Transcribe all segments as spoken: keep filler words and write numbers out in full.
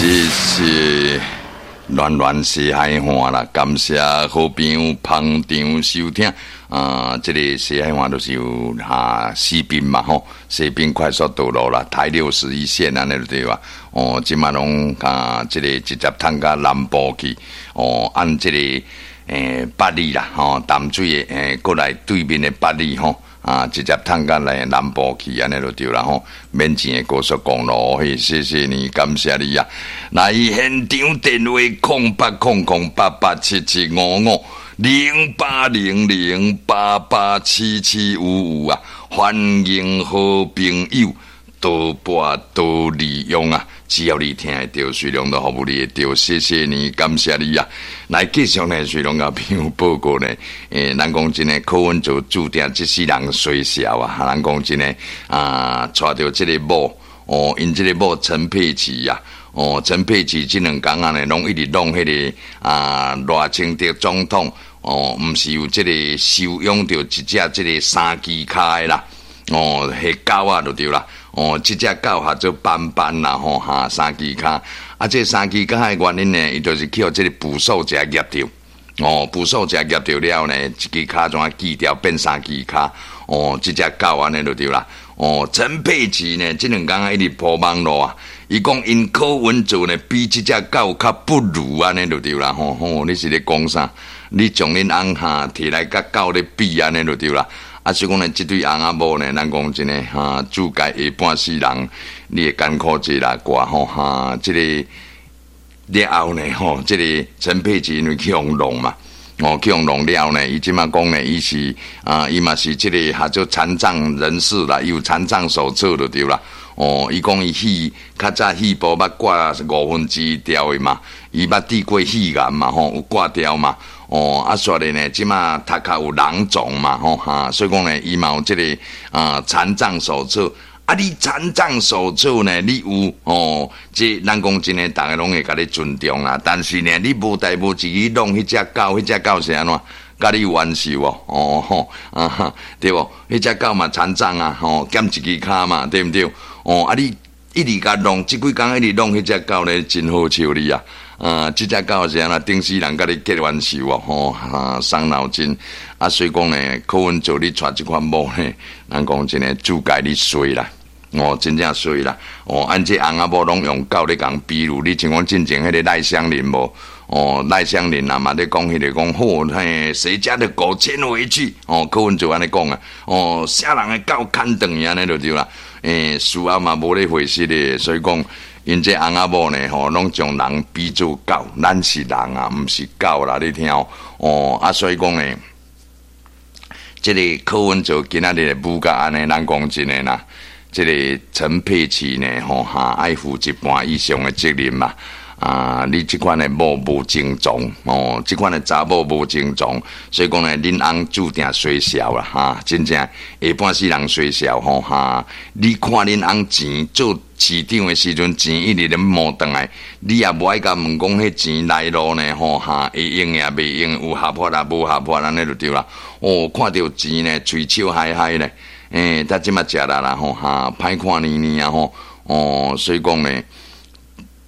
謝謝暖暖西海岸啦，感謝好朋友捧場收聽啊！這个西海岸就是有啊西濱嘛吼，西濱快速道路啦，台六十一線按呢對吧？哦，這馬攏啊，這个直接通到南部去哦，按這个欸八里啦吼，淡水的欸過來對面的八里吼。啊，直接通到來南部去，按呢就對啦吼，免錢的高速公路，嘿，謝謝你，感謝你啊！來現場電話：空八空空八八七七五五零八零零八八七七五五啊！歡迎好朋友多撥多利用啊！只要你聽會著，水龍都服務你會著，謝謝你，感謝你啊！來繼續呢，水龍共朋友報告呢，欸，人講真的，柯文哲注定這世人衰潲啊！人講真的啊，娶著這个某哦，𪜶這个某陳佩琪啊，哦，陳佩琪這兩工仔呢，攏一直弄彼个啊賴清德總統哦，毋是有這个收養著一隻這个三支跤的啦，哦，彼狗仔就對啦。哦，這隻狗叫做斑斑啦，吼哈，三支跤。啊，這三支跤的原因呢，伊就是去予這个捕獸夾夾著。哦，捕獸夾夾著了呢，一支跤怎啊鋸掉變三支跤。哦，這隻狗按呢就對啦。哦，陳佩琪呢，這兩工一直鋪網路啊，伊講𪜶柯文哲呢，比這隻狗較不如按呢就對啦。吼吼，你是咧講啥？你將恁翁哈提來佮狗咧比按呢就對啦。啊，所以講呢，這對翁仔某呢，咱講真的哈，注解下半世人，你會艱苦者啦，掛吼哈，這个了後呢，吼，這个陳佩琪因為去予弄嘛，哦，去予弄了呢，伊這馬講呢，伊是啊，伊嘛是這个叫做殘障人士啦，伊有殘障手冊就對啦。哦，伊講伊肺較早肺部捌掛五分之一條的嘛，伊捌得過肺癌嘛，吼，有掛掉嘛。哦，啊，煞咧呢，這馬頭殼有囊腫嘛，吼哈，所以講呢，伊嘛有這个啊殘障手冊。啊，你殘障手冊呢，你有哦，這咱講真的，逐家攏會共你尊重啦。但是呢，你無代無誌去弄彼隻狗，彼隻狗是按怎？共你有冤仇哦，哦吼啊，對無？彼隻狗嘛殘障啊，吼，減一支跤嘛，對毋對？哦，啊，你一直共弄，這幾工一直弄彼隻狗呢，真好笑你啊！啊，這隻狗是按怎？頂世人共你結冤仇哦，吼啊，傷腦筋。啊，所以講呢，柯文哲你娶這款某呢，人講真的注解你衰啦，哦，真正衰啦。哦，按這翁仔某攏用狗咧共比喻，你像講進前彼个賴香伶無？哦，賴香伶啊嘛咧講彼个講好，嘿，誰家的狗牽回去？哦，柯文哲按呢講啊，哦，啥人的狗牽轉去按呢就對啦。欸，事後嘛無咧回事的，所以講。𪜶這翁仔某呢，吼，攏將人比做狗，咱是人啊，毋是狗啦，你聽哦。啊，所以講呢，這个柯文哲今仔日舞甲按呢，咱講真的啦，這个陳佩琪呢，吼哈，愛負一半以上的責任嘛。啊，你這款的某無症狀，哦，這款的查某無症狀，所以講呢，恁翁注定衰潲啦，哈，真正下半世人衰潲吼哈。你看恁翁錢做市長的時陣，錢一直咧摸轉來，你也無愛共問講彼錢來路呢，吼哈，會用也袂用，有合法也無合法，按呢就對啦。哦，看著錢呢，喙笑嗨嗨咧，欸，他這馬食力啦，吼哈，歹看呢呢啊吼，哦，所以講呢。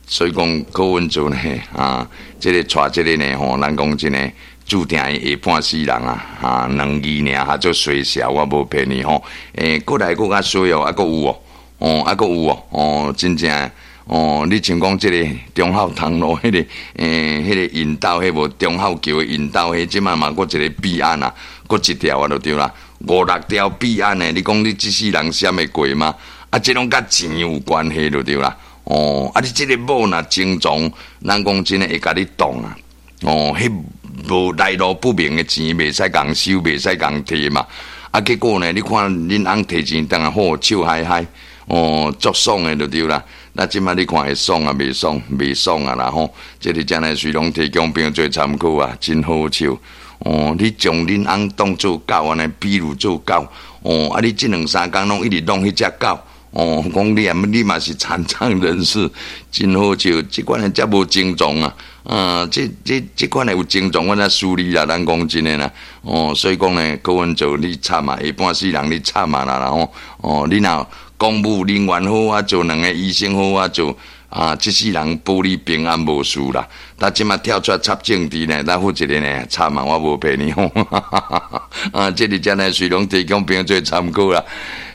所以講柯文哲呢，啊，這个娶這个呢，吼，咱講真的，注定伊下半世人啊，啊，兩字爾哈做衰潲，我無騙你吼。欸，閣來閣較衰哦，啊，閣有哦，哦，啊，閣有哦，哦，真正，哦，你像講這个忠孝東路彼个，欸，彼个引道，彼無忠孝橋的引道，彼這馬嘛閣一个弊案啊，閣一條啊，就對啦，五六條弊案呢，你講你這世人閃會過嗎？啊，這攏佮錢有關係就對啦。哦，啊！你這个某若精蟲，咱講真的會共你擋啊！哦，彼無來路不明的錢，袂使共收，袂使共提嘛。啊，結果呢，你看恁翁提錢轉來好笑嗨嗨，哦，足爽的就對啦。那這馬你看會爽啊？袂爽，袂爽啊啦吼！這个真的隨攏提供朋友做參考啊，真好笑。哦，你將恁翁當做狗按呢，比喻做狗。哦，啊，你這兩三工攏一直弄彼隻狗。哦，講你啊，你嘛是殘障人士，真好笑。這款的遮無症狀啊，啊，這這這款的有症狀，我才輸你啦。咱講真的啦，哦，所以講呢，柯文哲你慘啊，下半世人你慘啊啦，吼，哦，你若公務人員好啊做，兩个醫生好啊做，啊，這世人保你平安無事啦。但這馬跳出來插政治呢，咱負責任呢，插嘛我無騙你吼。啊，這裡真係隨攏提供朋友做參考啦。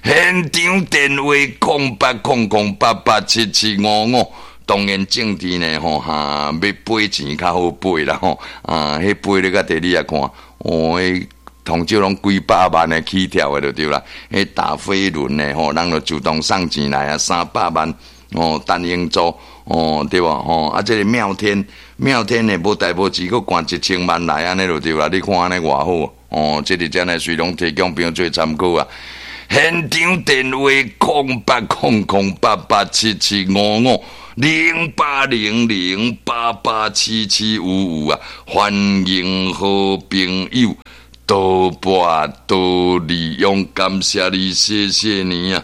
現場電話空八空空八八七七五五。當然政治呢，吼哈，欲飛錢較好飛啦吼。啊，彼飛咧較佇你來看，哦，彼通少攏幾百萬的起跳的就對啦。彼打飛輪的吼，人就主動送錢來啊，三百萬哦，陳英做哦，對無吼？啊，這个妙天妙天的無代無誌，閣灌一千萬來按呢就對啦。你看按呢偌好哦，這個真係隨攏提供朋友做參考啊。現場電話空八空空八八七七五五零八零零八八七七五五啊！歡迎好朋友多撥多利用，感謝你，謝謝你啊！